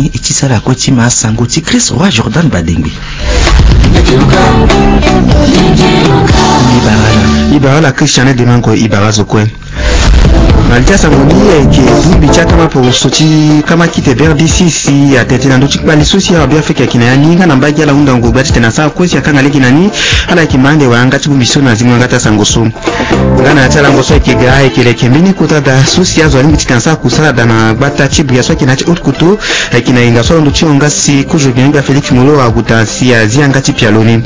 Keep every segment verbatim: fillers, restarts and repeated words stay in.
E ti sara kue ti ma sango ti Chris Roi Jordan Badengbe. E bara ala, e bara ala Christian Demango, e bara azo kue. Na li ti asango ni ayeke bongbi ti akama poroso ti kama kite B R D C si atene tene na ndö ti kpali so si awa Beafrika ayeke na ya ni nga na mbage ala hundango gba titene asara kue si akanga lege na ni. Ala yeke ma ande wala yanga ti bongbi so na zingo yanga ti asango so. Nga na ya ti alango so ayeke ga ayeke leke mbeni kota da so si azo alingbi titene asara kusala da na gbata ti Bria so ayeke na ya ti Haute-Kotto. Ayeke na hinga so alondo ti hon nga si kozo gbene nga Félix Moloua ague daa si azi yanga ti pialo ni.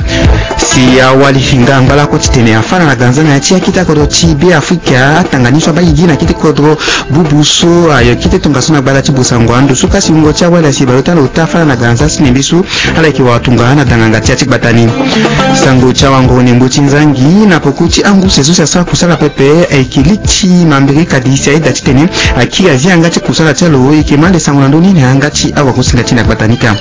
Si awali hinga angba lakue titene afâ na ganza na ya ti akita kodro ti Beafrika, atanga ni so abaa gigi na kete kodro bubu so ayo kete tongaso na gbata ti Bossangoa. Ndo so kasi wungo ti awali asi baleota na ota afâ na ganza si nembe so ala yeke wara tongana na danganga ti ya ti gbata ni. Sango ti awango-nengbo ti nzangi na poko ti angu se so si asara kusala pepe ayeke li ti mambiri kadi si ayeda titene akiri azi yanga ti kusala ti alo. E yeke ma ande sango na ndö ni na yanga ti awagosinga ti na gbata ni kâ.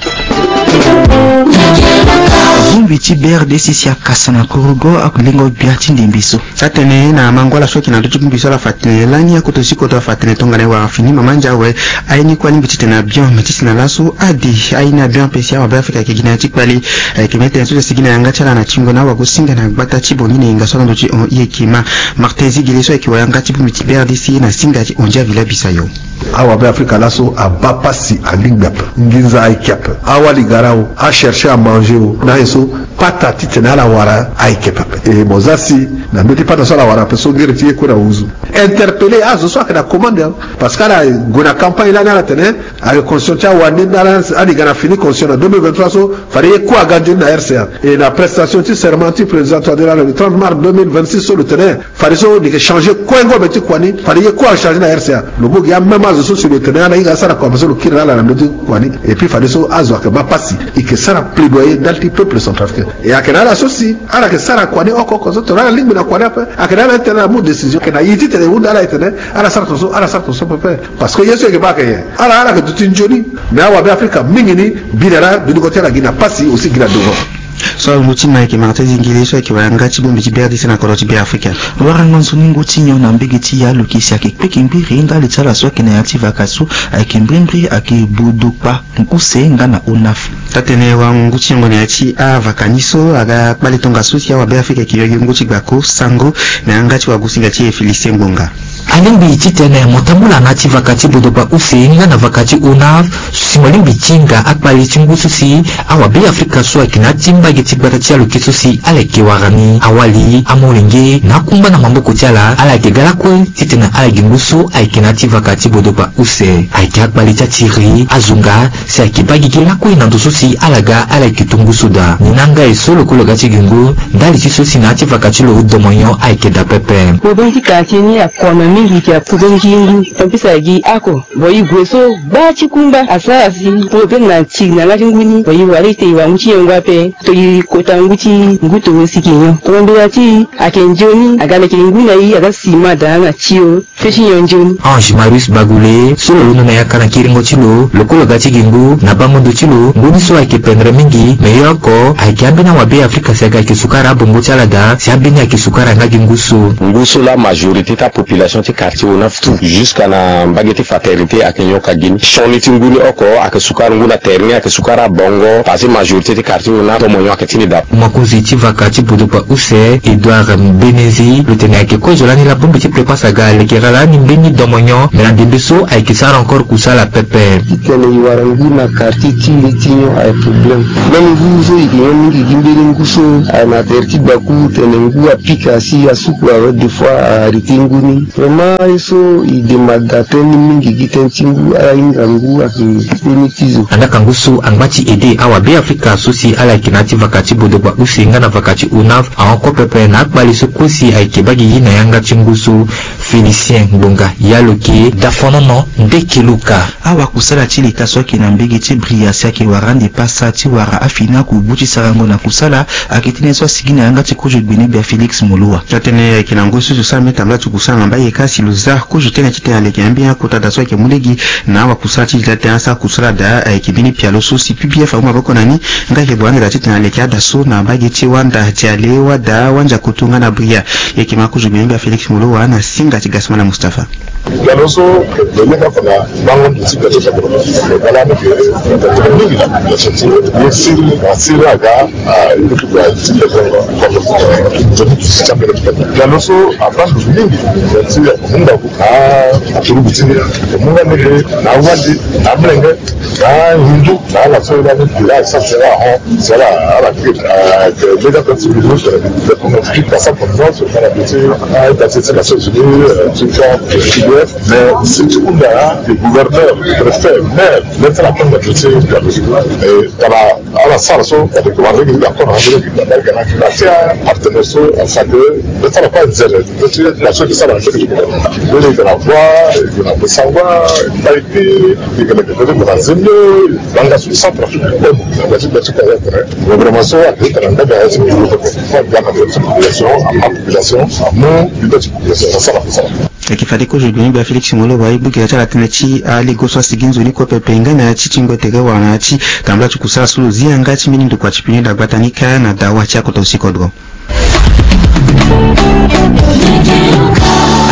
Bongbi ti B R D C si akasa na korogo alengo gbia ti ndembe so. Atene na mango ala so ayeke na ndö ti bongbi so ala fa tene lani akoto si koto afa tene tongana e wara fini mama ndia awe. Aye ni kue alingbi titene abion me titene na laso ade aye ni abion ape si awa Beafrika ayeke gi na ya ti kpali. Ayeke mbeni tënë so si asigi na yanga ti ala na tingo na awagosinga na gbata ti Bongi na hinga so alondo ti hon. E yeke ma Martin Zigele so ayeke wayanga ti bongbi ti B R D C na singa ti Ondia Villa Bisayo. Awa Beafrika laso abaa pasi alingbi ape. Nginza ayeke ape. Awali gara o, achercher à manger o, na aye so pata titene ala wara ayeke pepe. E mo za si na ndö ti pata so ala wara ape so ngere ti ye kue na wuzu. Interpeller azo so ayeke na commande, hein. Parce que ala gue na campagne lani ala tene ayeke constitution ti awande ni ala, ala yeke ga na fini constitution na deux mille vingt-trois so fade ye kue aga nzoni na R C A. E na prestation ti serment ti président Touadéra le trente mars deux mille vingt-six so lo tene fadeso lo yeke changer kue ngombe ti kua ni, fade ye kue achanger na R C A. Lo mu gi amême azo so si lo tene ala hinga asara kua ape so lo kiri na ala na ndö ti kua ni. Et puis fadeso azo ayeke baa pasi, e yeke sara plaidoyer ndali ti peuple centrafricain. E ayeke na ala so si ala yeke sara kua ni oko oko so tongana ala lingbi na kua ni ape, ayeke na ala titene ala mu décision, ayeke na e titene e hunda ala e tene ala sara tongaso, ala sara tongaso pepe. Parce que ye so e yeke baa ayeke nyen? Ala, ala yeke duti nzoni. Mais awa Beafrika mingi ni, bi na ala, dutingo ti ala gi na pasi aussi gi na devant. So alungo ti ma ayeke Martin Zingele so ayeke wayanga ti bongbi ti B R D C na kodro ti Beafrika. Warango nzoni ngu ti nyon na mbege ti ya lo yeke si ayeke kpeke mbiri ndali ti ala so ayeke na ya ti vaka so ayeke mbrimbri ayeke Bodokpa, Use nga na Onaf. Taa-tënë warango ngu ti yongo na ya ti avaka ni so aga kpale tongaso si awa Beafrika ayeke yo gi ngu ti gbako sango na yanga ti wagosinga ti e Félicien Ngbonga. Alingbi titene mo tambula na ya ti vaka ti Bodokpa Use nga na vaka ti Onaf si mo lingbi ti hinga akpali ti ngu so si awa Beafrika so ayeke na ya ti mbage ti gbata ti aloke so si ala yeke wara ni awali amolenge na akungba na maboko ti ala, ala yeke ga lakue titene ala gi ngu so ayeke na ya ti vaka ti Bodokpa Use. Ayeke akpali ti atiri azonga si ayeke baa gigi lakue na ndo so si ala ga ala yeke to ngu so daa. Ni na nga e so lokolo ga ti gi ngu ndali ti so si na ya ti vaka ti lo domonyon ayeke daa pepe. Problème ti quartier ni akoma mingi, ayeke problème ti ngu. Tant pis ayeke gi oko. Bon, e gue so gbaa ti kungba asara si problème na tiri na yanga ti ngu ni. Bon, e wara ete e wara ngu ti nyon ngu ape. To e kota ngu ti ngu toro si e yeke nyon. Tongana mbela ti e ayeke nzoni aga leke ngu na e aga sima daa na tio. Feti nyon nzoni. Ange Marius Bagule so lo londo na yaka na kiringo ti lo lokolo ga ti gi ngu na bango ndo ti lo. Ngu ni so ayeke pendre mingi, me ye oko ayeke ambeni awa Beafrika si aga ayeke sukara abongo ti ala daa si ambeni ayeke sukara yanga gi ngu so. Ngu so laa majorité ti apopulation ti quartier Onaf tout jusqu'à na mbage ti Fraternité ayeke nyon ka gi ni. Sioni ti ngu ni oko ayeke sukara ngu na tere ni, ayeke sukara abongo parce que majorité ti quartier Onaf domonyon ayeke ti ni daa. Mokonzi ti vaka ti Bodokpa Use, Edouard Mbenezi, lo tene ayeke kozo lani laa bongbi ti Prepas aga lekere lani mbeni domonyon, me na ndembe so ayeke sara encore kusala pepe. Titene e wara ngu na quartier ti e ti nyon aye problème. Même ngu so e yeke nyon mingi gi mbeni ngu so aye na tere ti gbaku, tene ngu apika si asuku awe, des fois a arrêter ngu ni. Vraiment ye so e demande daa tënë ni mingi gi tënë ti ngu, ala hinga ngu ayeke mbeni ti zo. Andaa ka ngu so angba ti ede awa Beafrika so si ala yeke na ya ti vaka ti Bodokpa Use nga na vaka ti Onaf ahon kue pepe na akpali so kue si ayeke baa gigi na yanga ti ngu so. Félicien Ngbonga, ya lo yeke dafonono ndeke luka. Awakusala ti leta so ayeke na mbege ti Bria si ayeke wara ande pasa ti wara afini akubu ti sarango na kusala, ayeke tënë so asigi na yanga ti kozo gbene gbia Félix Moloua. Taa-tënë ayeke na ngu so zo sara mbeni tambula ti kusala na mbage kâ si lo za kozo tënë titene aleke na mbeni akota da so ayeke mu lege na awakusala ti leta titene asara kusala daa. Ayeke mbeni pialo so si P P F amu maboko na ni nga ayeke bua ande daa titene aleke ada so na mbage ti Wanda, Diale, Wada, Wandiakoto nga na Bria. E yeke ma kozo gbene gbia Félix Moloua na singa Ti Gasmana Mustapha. Pialo so lo lenga fa na bango ndo ti pialo ti bango. Bala ni ke tene mingi na population ti ye siri na siri aga. Pialo so abando mingi ti amunga ku na aturugu ti ni, amunga ni ke na wali na mlenge na hindu na ala so ila ni bila sa sera ho sera ala ke lega pe ti bilu sera bi. Pasa pour moi so kana bi ti a ita ti ti Nations Unies ti ka ti mais si ti hunda ti gouverneur, préfet, maire, même ti la panga ti ti pialo so e tala ala sara so kadi ko wara lege ti dakor na lege ti dakor na lege na ti apartenaire so asake. Be sara kue anzere be ti na so e ke sara na lege ti koko be lege na voie e ke na bosangua, taiti e ke leke be ti kona nzembe banga so centre afrique kue na be ti be ti koko kue. Gouvernement so ade tala ndaba ya ti biro koko fo aga na be ti population ama population amu be ti population asara kosara. Eke fade kozo gbeni gba Félix Moloba e gbu gere ti ala tënë ti alego so asigi nzoni kue pepe nga na ya ti tingo tere wala na ya ti tambula ti kusala so lo zi yanga ti mbeni ndokua ti pine dagbata ni kâ na dawa ti akoto si kodro.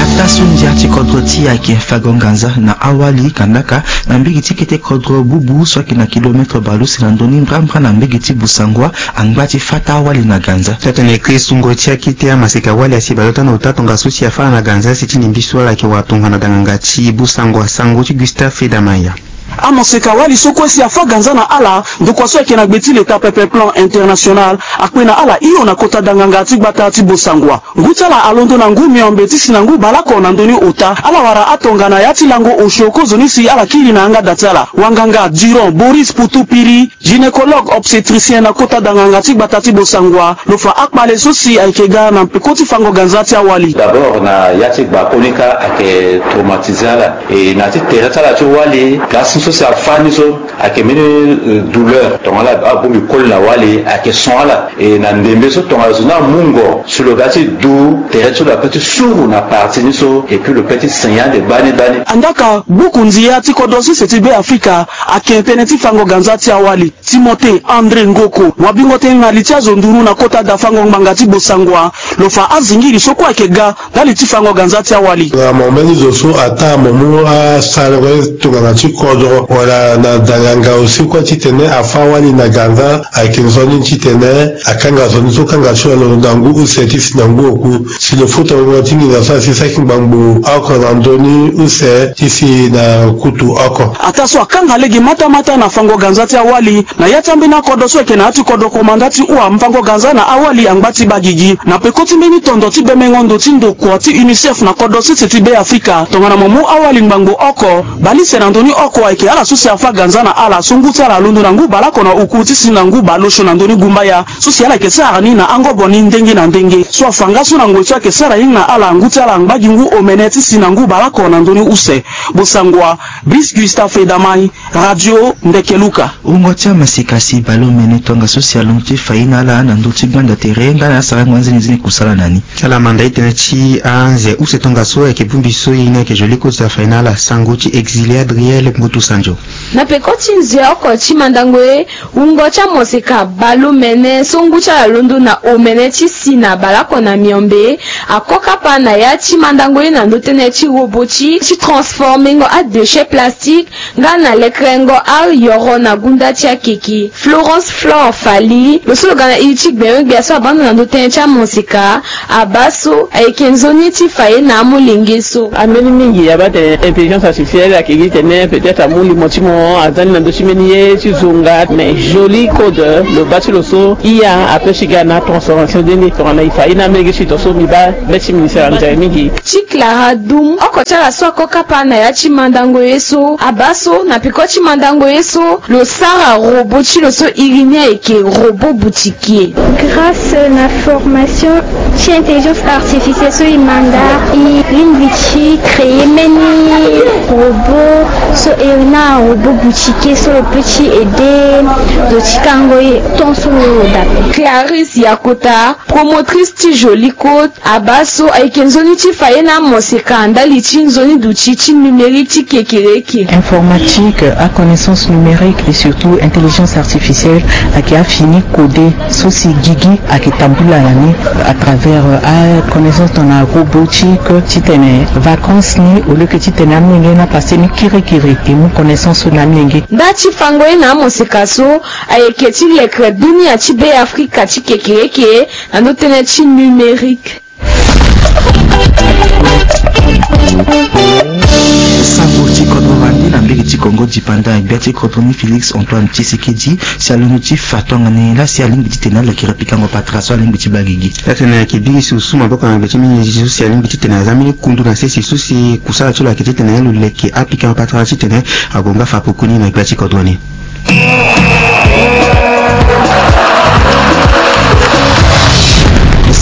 Ataa so ndia ti kodro ti e ayeke fango nganza na awali kandaka na mbege ti kete kodro bubu so ayeke na kilometre baleuse na ndö ni mbrambra na mbege ti Busangua angba ti fâ taa wali na ganza. Ti atene kristu ngoi ti akete amaseka wali asi baleota na ota tongaso si afâ ala na ganza si ti lingbi so ala yeke wara tongana danganga ti Busangua sango ti Gustave Fedamaya. Amaseka wali so kue si afâ ganza na ala ndokua so ayeke na gbe ti leta pepe plan international akpe na ala hio na kota danganga ti gbata ti Busangua. Ngu ti ala alondo na ngu miombe ti si na ngu baleoko na ndö ni ota ala wara atongana ya ti lango osio kozoni si ala kiri na yanga da ti ala wanganga Durand Boris Pouthoupiri, gynécologue obstétricien na kota danganga ti gbata ti Bossangoa, lo fa akpale so si ayeke ga na peko ti fango ganza ti awali. D'abord na ya ti gba koni kâ ayeke traumatiser ala e na ya ti tere ti ala ti wali ga si so si afâ ni so ayeke mbeni douleur tongana ala abongbi koli na wali ayeke son ala. E na ndembe so tongana zo ni amungo si lo ga ti du tere ti lo ape ti suru na parti ni so epui lo pe ti senya ande gbani gbani. Andaka gbuku ndia ti kodro sese ti be afrika ake tënë ti fango ganza ti awali. Timothée André Ngoko wabingo tënë na li ti azo nduru na kota da fango ngbanga ti Bossangoa, lo fa azingiri so kue ayeke ga ndali ti fango ganza ti awali. Na mo mbeni zo so ataa mo mu asarango ye tongana ti kodro wala na danganga aussi kue titene afâ wali na ganza ayeke nzoni titene akanga zo ni so kanga ti lo na ngu use ti si na ngu oku si lo futa wungo ti nginza so asi saki ngbangbo oko na ndö ni use ti si na kutu oko. Ataa so akanga lege matamata na fango ganza ti awali na ya ti ambeni akodro so ayeke na ya ti kodro komanda ti hua mfango ganza na awali angba ti bagigi na peko ti mbeni tondo ti bemengo ndo ti ndokua ti unicef na kodro sese ti be afrika tongana mo mu awali ngbangbo oko baleuse na ndö ni oko ayeke ala so si afâ ganza na ala so ngu ti ala alondo na ngu baleoko na oku ti si na ngu baleosio na ndö ni gumbaya. So si ala yeke sara ni na angobo ni ndenge na ndenge so afa nga so na ngoi so ayeke sara ni na ala ngu ti ala angba gi ngu omene ti si na ngu baleoko na ndö ni use. Bossangoa, Brice Gustave Edamai, Radio Ndekeluka. Wungo ti amaseka si baleomene tongaso si alondo ti fa ye na ala na ndö ti gbanda tere nga na asarango anzenizeni kusala na ni. Ala manda e tënë ti anze use tongaso ayeke bongbi so ye ni ayeke jolie kota fa ye na ala sango ti exilé Adriel Mbutu Sanjo. Na peko ti nze oko ti mandango ye wungo ti amoseka baleomene so ngu ti ala londo na omene ti si na baleoko na miombe ako kapa na ya ti mandango ye na ndö tënë ti robot ti ti transformengo adéchet plastique nga na lekerengo ayoro na gunda ti akeke. Florence Flore Fally lo so lo ga na iri ti gbenyo-gbia so abando na ndö tënë ti amoseka abaa so ayeke nzoni ti fa ye na amolenge so. Ambeni mingi abaa tene intelligence artificielle ayeke gi tene peut-être amu limo ti mo aza ni na ndö ti mbeni ye ti zonga mais jolie code lo baa ti lo so iya ape ti ga na transformation de ni tongana e fa ye na amolenge ti e tongaso mbi baa be ti ministère anzere mingi. Ti Clara Dum oko ti ala so ako kapa na ya ti mandango ye so abaa so na peko ti mandango ye so lo sara robot ti lo so iri ni ayeke robot boutiquier. Grâce na formation ti intelligence artificielle so e manda e lingbi ti créer mbeni robot so e na robot Boutique so lo peut ti aider lo ti kango ye ton so lo dape. Clarisse Yakota, promotrice ti Jolie Côte, abaa so ayeke nzoni ti fa ye na amoseka ndali ti nzoni duti ti numérique ti kekereke. Informatique, a connaissance numérique et surtout intelligence artificielle ayeke afini codé so si gigi ayeke tambula na ni à travers, euh, a connaissance dans la robotique, titene vacances ni au lieu que titene amolenge ni apasse ni kirikiri e mu connaissance so na amolenge. Nda ti fango ye na amoseka so ayeke ti lekre dunia ti Beafrika ti kekereke na ndö tënë ti numérique. Sango ti kodro wande na mbege ti Kongo dipanda, gbia ti kodro ni Félix Antoine Tshisekedi si alondo ti fa tongana nyen laa si alingbi titene alekere pikango patara so alingbi ti baa gigi. Titene ayeke biri si lo su maboko na gbe ti mingi so si alingbi titene aza mbeni kundu na sese so si kusala ti lo ayeke titene lo leke apikango patara titene ague nga fa pokoni na gbia ti kodro ni.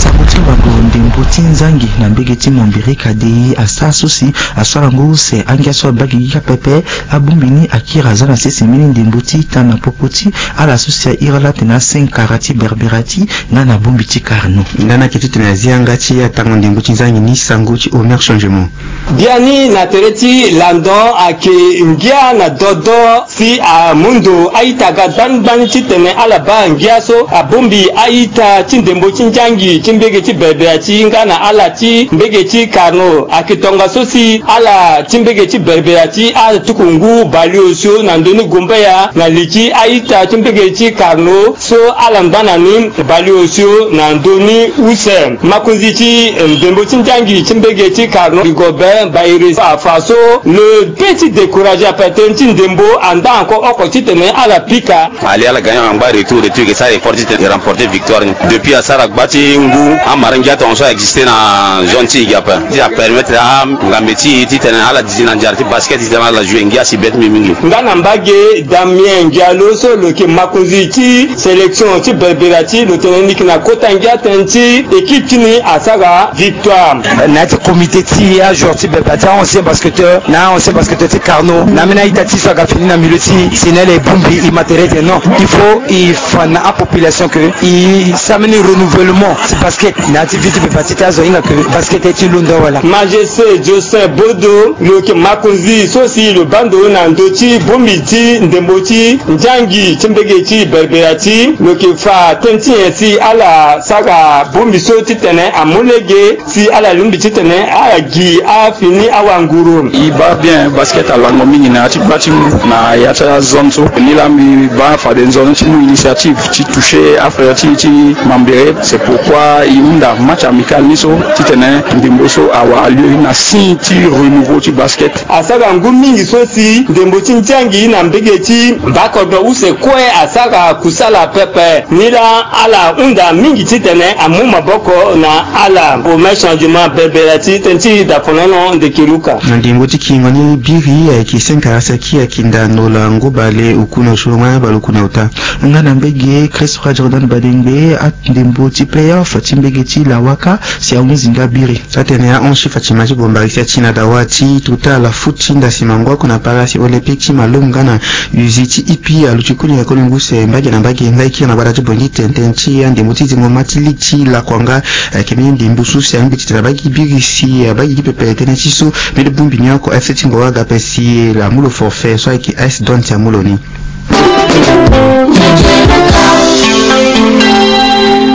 Sango ti wango ndembo ti nzangi na mbege ti Mombiri Kadei asara so si asara ngu use angia so abaa gigi kâ pepe. Abongbi ni akiri aza na sese mbeni ndembo ti ita na popo ti ala so si a iri ala atene asenkara ti Berbera ti nga na bongbi ti Carnot. Nga na yeke titene azi yanga ti atango ndembo ti nzangi ni sango ti Omer Changement. Biani na tere ti landon ayeke ngia na dodo si amu ndo a-ita ga gbani gbani titene ala baa ngia so abongbi a-ita ti ndembo ti nzangi ti mbege ti Berbera ti nga na ala ti mbege ti Carnot. Ayeke tongaso si ala ti mbege ti Berbera ti atuku ngu balio osio na ndö ni gumbaya na li ti a-ita ti mbege ti Carnot so ala ngba na ni balio osio na ndö ni use. Makonzi ti ndembo ti nzangi ti mbege ti Carnot Rigobert Baïré afa so lo pe ti décourager ape tënë ti ndembo anda encore oko titene ala pika. Ali ala gagné na ngba retour, retour e ke sara effort titene e remporter victoire ni. Depuis asara gba ti ngu, amara ngia tongaso a exister na zone ti e gi ape. Ti apermettre angambe ti e titene ala dizi na nzara ti basket titene ala jouer ngia si be ti mbi mingi. Nga na mbage Damien Diallo so lo yeke makonzi ti sélection ti Berbera ti lo tene ni yeke na kota ngia tënë ti équipe ti ni asara victoire. Na ya ti comité ti ajoueur ti Berbera ti a-ancien basketteur na a-ancien basketteur ti Carnot na ambeni a-ita ti so aga fini na milieu ti e, si na ala e bongbi e ma tere tene non, il faut e fa na apopulation que e sara mbeni renouvellement ti basket na ya ti vie ti Berbera ti tene azo ahinga que basket aye ti londo awala. Majesté Jocelyn Bodo lo yeke makonzi so si lo baa ndo na ndö ti bongbi ti ndembo ti nzangi ti mbege ti Berbera ti lo yeke fa tënë ti nyen si ala sara bongbi so titene amu lege si ala lingbi titene ala gi afini awanguru. E baa bien, basket alango mingi na ya ti gba ti ngu na ya ti azone so. Ni laa mbi baa fade nzoni ti mu initiative ti toucher affaire ti, ti Mambere. C'est pourquoi e hunda match amical ni so titene ndembo so awara lieu na signe ti renouveau ti basket. Asara ngu mingi so si ndembo ti nzangi na mbege ti bakodro use kue asara kusala pepe. Ni laa ala hunda mingi titene amu maboko na ala. Omer Changement, Berbera ti tënë ti dafonono ndeke luka. Na ndembo ti kingo ni biri ayeke senkara saki ayeke ndano la ngu bale oku na osio nga bale oku na ota. Nga na mbege Christ Roi Jordan Badengbe, andembo ti playoff ti mbege ti Lawaka si ahunzi nga biri. Atene ahon ti Fatima ti Bombari si ati na dawa ti tuta ala futi nda si mango oko na palasi olympique ti Malum nga na uzi ti ipi aluti koli na koli ngu use mbage na mbage nga e kiri na gbata ti Bongi tene tënë ti andembo ti zingo ma ti ligue ti lakua nga. Ayeke mbeni ndembo so si angbi titene abaa gi biri si abaa gi gi pepe tënë ti so mbeni bongbi ni oko F C ti Ngogo aga ape si amu lo forfait so ayeke A S Don si amu lo ni.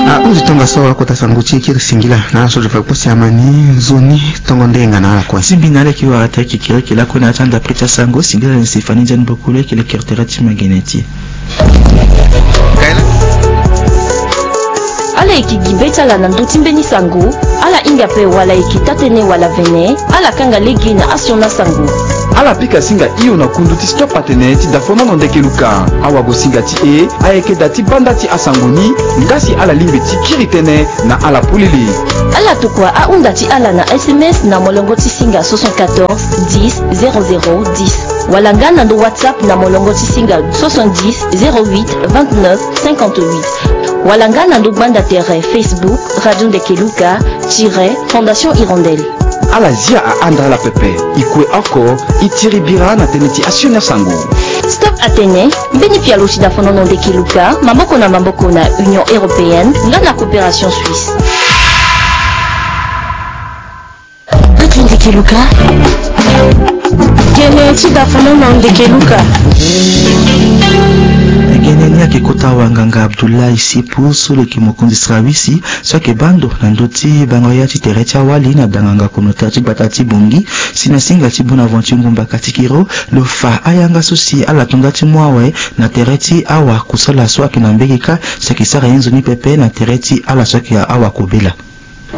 Ahunzi tongaso akota sango ti e kiri singila na ala so zo fa kpo si ama ni nzoni tongo ndenga na ala kue. Ti mbi na ala yeke wara tere kekereke lakue na ya ti andapre ti asango. Singila na Stéphanie Ndiaye Mbokolo ayeke lekere tere ti magene ti e. Ala yeke gi be ti ala na ndö ti mbeni sango, ala hinga ape wala e yeke taa-tënë wala vene, ala kanga lege na asioni asango. Ala pika singa hio na kundu ti Stop Atene ti dafonono ndeke luka. Awagosinga ti e ayeke da ti banda ti asango ni, nga si ala lingbi ti kiri tënë na ala polele. Ala tokua ahunda ti ala na S M S na molongo ti singa soixante-quatorze dix zéro zéro dix, wala nga na ndo WhatsApp na molongo ti singa soixante-dix zéro huit vingt-neuf cinquante-huit, wala nga na ndo gbanda tere Facebook Radio Ndeke Luka tiret Fondation Hirondelle. Ala zia ahandra ala pepe. E kue oko, e tiri bira na tënë ti asioni asango. Stop Atene, mbeni pialo ti dafonono ndeke luka, maboko na maboko na Union Européenne, nga na Coopération Suisse. Ndeke luka. Gene ti dafonono ndeke luka. Gene ni ayeke kota wanganga Abdoulaye Sepo so lo yeke mokonzi sira wisi, so ayeke baa ndo na ndö ti bango ya ti tere ti awali na danganga konota ti gbata ti Bongi, si na singa ti Bonaventure Ngumba Katikiro, lo fa ayanga so si ala to nda ti mu awe na tere ti awakusala so ayeke na mbege kâ, si ayeke sara ye nzoni pepe na tere ti ala so ayeke awakobela.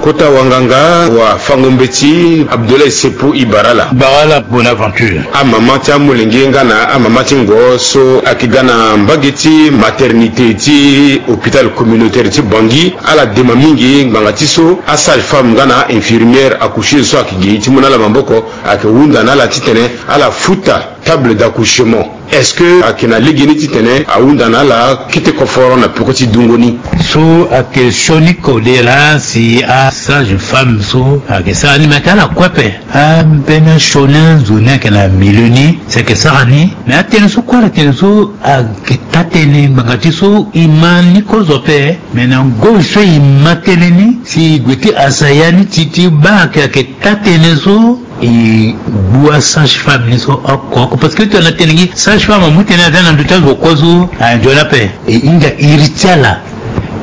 Kota wanganga wafango mbeti Abdoulaye Sepo Ibarala. Barala Bonaventure. Amama ti amolenge nga na amama ti ngo so ayeke ga na mbage ti maternité ti hôpital communautaire ti Bangui, ala dema mingi ngbanga ti so asage-femme nga na infirmière accoucheuse so ayeke gi ti mu na ala maboko, ayeke hunda na ala titene ala futa table d'accouchement. Est-ce que ayeke na legeni titene ahunda na ala kete koforo na peko ti dungo ni? So ayeke sioni kode laa si asage-femme so ayeke sara ni, me ti ala kue ape. Ambeni asioni anzoni ayeke na milieu ni si ayeke sara ni. Me atënë so kue ala tene so ayeke taa-tënë ngbanga ti so e ma ni kozo ape. Me na ngoi so e ma tënë ni si e gue ti hasa ya ni ti ti baa ayeke taa-tënë so, e gbu asage-femme ni so oko oko, parce que tongana tene gi sage-femme amu tënë aza na ndö ti azo kue so, a nzoni ape. E hinga iri ti ala,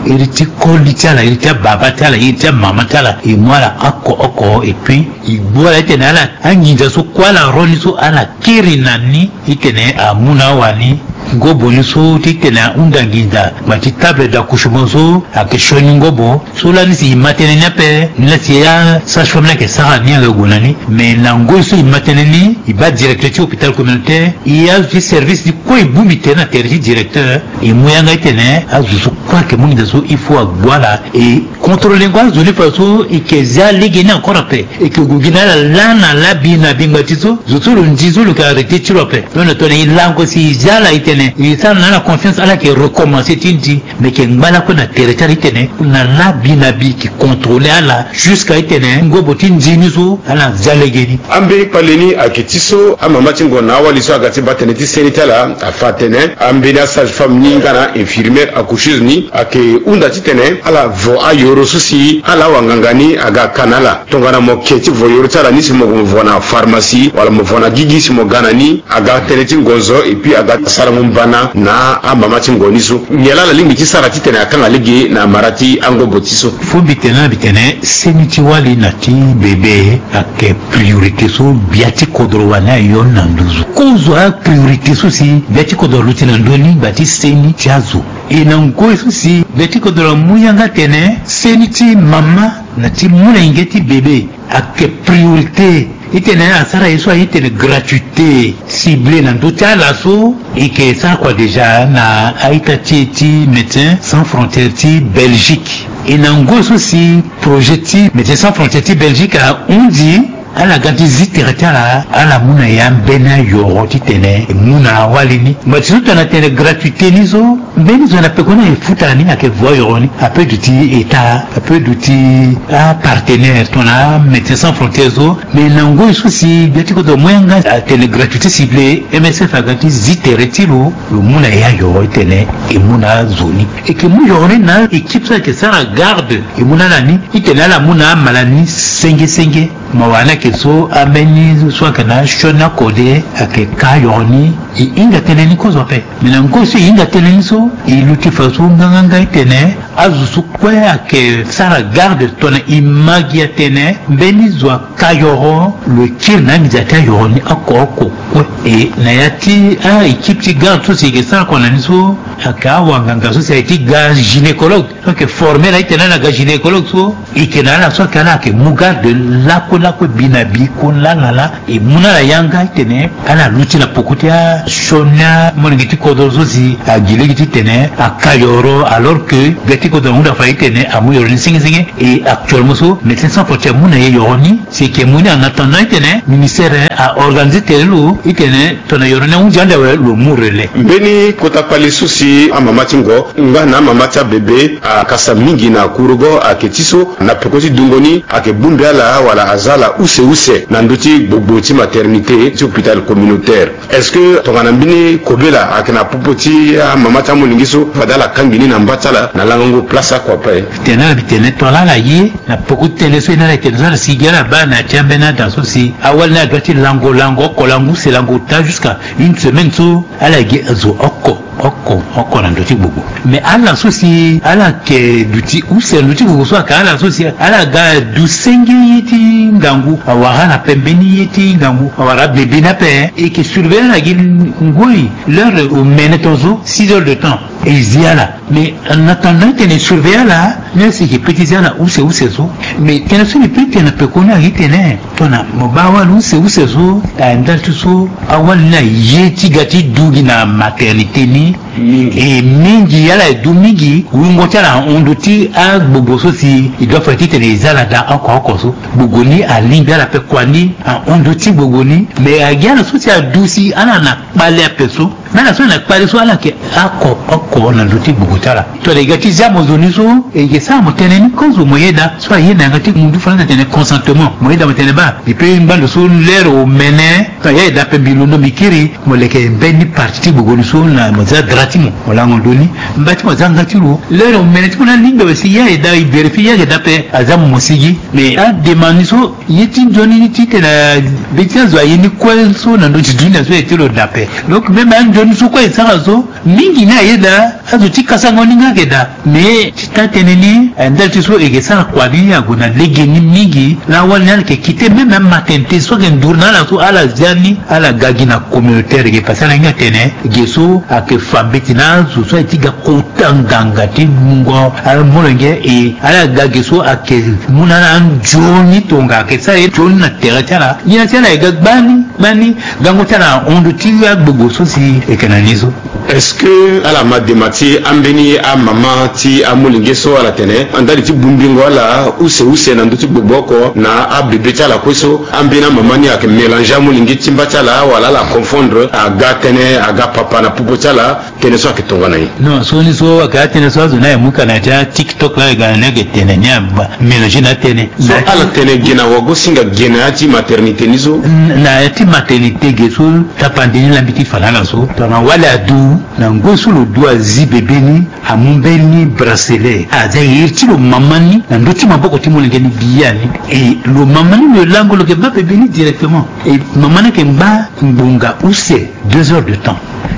iri ti koli ti ala, iri ti ababa ti ala, iri ti amama ti ala, e mu ala oko oko, et puis e gbu ala titene ala anginza so kue ala ro ni so ala kiri na ni. Titene amu na awani ngobo ni so titene ahunda nginza ngba ti table d'accouchement so ayeke sioni ngobo. So lani si e ma tënë ni ape, ni la si asage-femme ni ayeke sara ni ayeke gue na ni. Me na ngoi so e ma tënë ni, e baa directeur ti hôpital communautaire, e azo ti service ni kue e bongbi tënë na tere ti directeur. E mu yanga titene azo so kue ayeke mu nginza so il faut agbu ala, e contrôler ngo azo ni fa so e yeke zia lege ni encore ape. E yeke gue gi na ala laa na laa bi na bi ngba ti so zo so lo ndi so lo yeke arrêté ti lo ape. Donc na tongana e lango si e zia ala e tene e sara na ala confiance, ala yeke recommencer ti ndi. Me yeke ngba lakue na tere ti ala titene na laa bi na bi e yeke contrôler ala jusqu'à titene ngobo ti ndi ni so ala zia lege ni. Ambeni kpale ni ayeke ti so amama ti ngo na awali so aga ti baa tënë ti seni ti ala afa atene ambeni asage-femme ni nga na infirmière accoucheuse ni ayeke hunda titene ala vo ayoro so si ala awanganga ni aga ka na ala. Tongana mo ke ti vo yoro ti ala ni si mo gue mo vo na pharmacie wala mo vo na gigi si mo ga na ni, aga tënë ti ngonzo et puis aga sarango mbana na amama ti ngo ni so. Nyen laa ala lingbi ti sara titene akanga lege na mara ti angobo ti so? Fo mbi tene na mbi tene seni ti wali na ti bebe ayeke priorité so gbia ti kodro wani ayo ni na nduzu. Kozo apriorité so si gbia ti kodro aluti na ndö ni ngba ti seni ti azo. E na ngoi so si gbia ti kodro amu yanga tene seni ti mama na ti molenge ti bebe ayeke priorité. Titene asara ye so aye titene gratuité ciblée na ndö ti ala so. E yeke sara kua déjà na a-ita ti e ti Médecins Sans Frontières ti Belgique. E na ngoi so si projet ti Médecins Sans Frontières ti Belgique ahunzi, ala ga ti zi tere ti ala, ala mu na e ambeni ayoro titene e mu na awali ni. Ngba ti so tongana tene gratuité ni so, mbeni zo na pekoni aye futa ni ayeke vo ayoro ni. Ape duti État, ape duti apartenaire tongana Médecins Sans Frontières so. Me na ngoi so si gbia ti kodro amu yanga atene gratuité ciblée, M S F aga ti zi tere ti lo, lo mu na e ayoro titene e mu na azo ni. E yeke mu yoro ni na équipe so ayeke sara garde, e mu na ala ni titene ala mu na amala ni senge senge. Mawa ni ayeke so ambeni so ayeke na asioni akode ayeke ka ayoro ni. E hinga tënë ni kozo ape. Me na ngoi so e hinga tënë ni so, e luti fa so nganganga titene azo so kue ayeke sara garde tongana e ma gi atene mbeni zo aka yoro, lo kiri na anginza ti ayoro ni oko oko kue. E na ya ti a-équipe ti garde so si e yeke sara kua na ni so, ayeke awanganga so si aye ti ga gynécologue. So ayeke former na itene ala ga gynécologue so, e yeke na ala so ayeke ala ayeke mu garde lakue lakue bi na bi kue lala laa. E mu na ala yanga itene ala luti na poko ti asioni amolenge ti kodro so si agi lege titene aka yoro, alors que gbia ti kodro ahunda fa itene amu yoro ni senge senge. E actuellement so Médecins Sans Frontières amu na e yoro ni, si e yeke mu ni en attendant itene ministère a organiser tere lo itene tongana yoro ni ahunzi ande awe lo mu relais. Mbeni kota kpale so si ti amama ti ngo nga na amama ti abebe akasa mingi na kurugo ayeke ti so na peko ti dungo ni ayeke bongbi ala wala aza ala use use na ndö ti gbogbo ti maternité ti hôpital communautaire. Est-ce que tongana mbeni kobela ayeke na popo ti amama ti amolenge so fade ala kangbi ni na mba ti ala na langango place oko ape? Tene ala bi tene tongana ala ye na peko ti tënë so e na ala e tene so ala sigi ala baa na ya ti ambeni ada so si awali ni adoit ti lango lango oko lango use lango ota jusqu'à une semaine so ala gi zo oko oko oko na ndö ti gbogbo. Mais ala so si ala yeke duti use na ndö ti gbogbo so ayeke ala so si ala ga du senge ye ti ngangu awara ala pe mbeni ye ti ngangu awara abebe ni ape. E yeke surveiller ala gi ngoi l'heure omene tongaso six heures de temps e zi ala. Mais en attendant ti tene e surveiller ala ni asi e yeke pe ti zi ala use use so. Mais tënë so mbi pe ti tene na peko ni ayeke ti tene tongana mo baa awali use use so na ndali ti so awali ni aye ti ga ti du gi na maternité ni mingi. E mingi ala e du mingi wungo ti ala ahon ndö ti agbogbo so si e doit fade ti tene e za ala daa oko oko so. Gbogbo ni alingbi ala pe kua ni ahon ndö ti gbogbo ni. Mais agi ala so si adu si ala na kpale ape so. Mais ala so na kpale so ala yeke oko oko na ndö ti gbogbo ti ala. Tongana e ga ti zia mo zo ni so e yeke sara mo tënë ni kozo mo yeda so aye na yanga ti mundu falansa atene consentement mo yeda mo tene baa mbi pe ngbando so lere omene. Tongana ya e daa ape mbi londo mbi kiri mo leke mbeni parti ti gbogbo ni so na mo za dra ti mo mo lango ndö ni. Mba ti mo aza nga ti lo lere omene ti mo ni alingbi awe si ya e daa e vérifier ya e daa ape aza mo mo sigi. Mais ademande ni so ye ti nzoni ni titene be ti azo aye ni kue so na ndö ti dunia so aye ti lo dape. Donc même anzoni so kue e sara so mingi ni ayeda azo ti kasango ni nga ayeke daa. Mais ti taa tënë ni ndali ti so e yeke sara kua ni ague na lege ni mingi. Laa wali ni ala yeke kite même amaternité so ayeke nduru na ala so ala zia ni ala ga gi na communautaire ge parce que ala hinga tene ge so ayeke fa mbeti na azo so aye ti ga kota nganga ti mungo ala molenge e ala ga ge so ayeke mu na ala anzoni tonga ayeke sara ye nzoni na tere ti ala ngia ti ala ayeke ga gbani gbani. Gango ti ala ahon ndö ti agbogbo so si e yeke na ni so. Est-ce que ala ma dema ti ambeni amama ti amolenge so ala tene ndali ti bongbingo ala use use na ndö ti gbogbo oko na abebe ti ala kue so ambeni amama ni ayeke mélanger amolenge ti mba ti ala wala ala confondre aga tënë aga papa na popo ti ala? Tënë so ayeke tongana nyen? Non so ni so ayeke atënë so azo ni aye mu ka na ya ti atiktok laa e ga na ni ayeke tene ni aba mélanger na atënë. So ala tene ge na wago singa ge na ya ti maternité ni so. Na ya ti maternité ge so tapande ni laa mbi ti fa na ala so tongana wali adu na ngoi so lo du azi bebe ni amu mbeni bracelet aza iri ti lo mama ni na ndö ti maboko ti molenge ni biani. E lo mama ni lo lango lo yeke baa bebe ni directement. E mama ni ayeke ngba ngbonga use deux heures de temps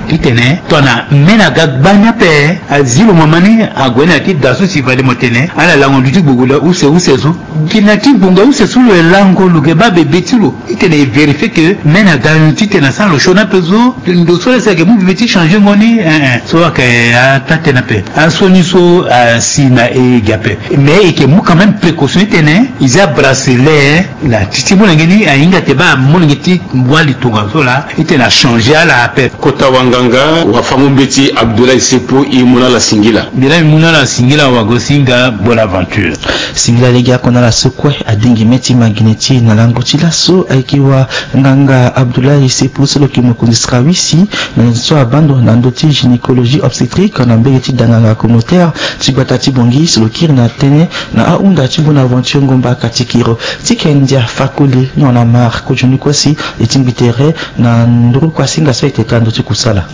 titene tongana mene aga gbani ape azi lo mama ni ague na ya ti da so si fade mo tene ala lango ndö ti gbogbo use use so. Gi na ti ngbonga use so lo yeke lango lo yeke baa bebe ti lo titene e vérifier que mene aga titene asara lo sioni ape so. Ndo so laa si ayeke mu bebe ti changer ngo ni eh eh so ayeke ataa tënë ape. Asioni so asi na e gi ape mais e yeke mu quand même précaution titene e zia bracelet na ti ti molenge ni ahinga te baa molenge ti wali tongaso laa. Titene achanger ala ape. Kota wanganga wafango mbeti Abdoulaye Sepo e mu na ala singila. Mbi laa mbi mu na ala singila wago singa bonne aventure. Singila lege oko na ala so kue adingi mê ti ma gi na e ti e na lango ti laso ayeke wanganga Abdoulaye Sepo so lo yeke mokonzi srawisi na so abando na ndö ti gynécologie obstétrique na mbege ti danganga communautaire ti gbata ti Bangui so lo kiri na tënë na ahunda ti bonne aventure ngomba katikiro ti kendia fakoli nyon na mare kozoni kue si e tingbi tere na nduru kuasinga so e teta ndö ti kusala.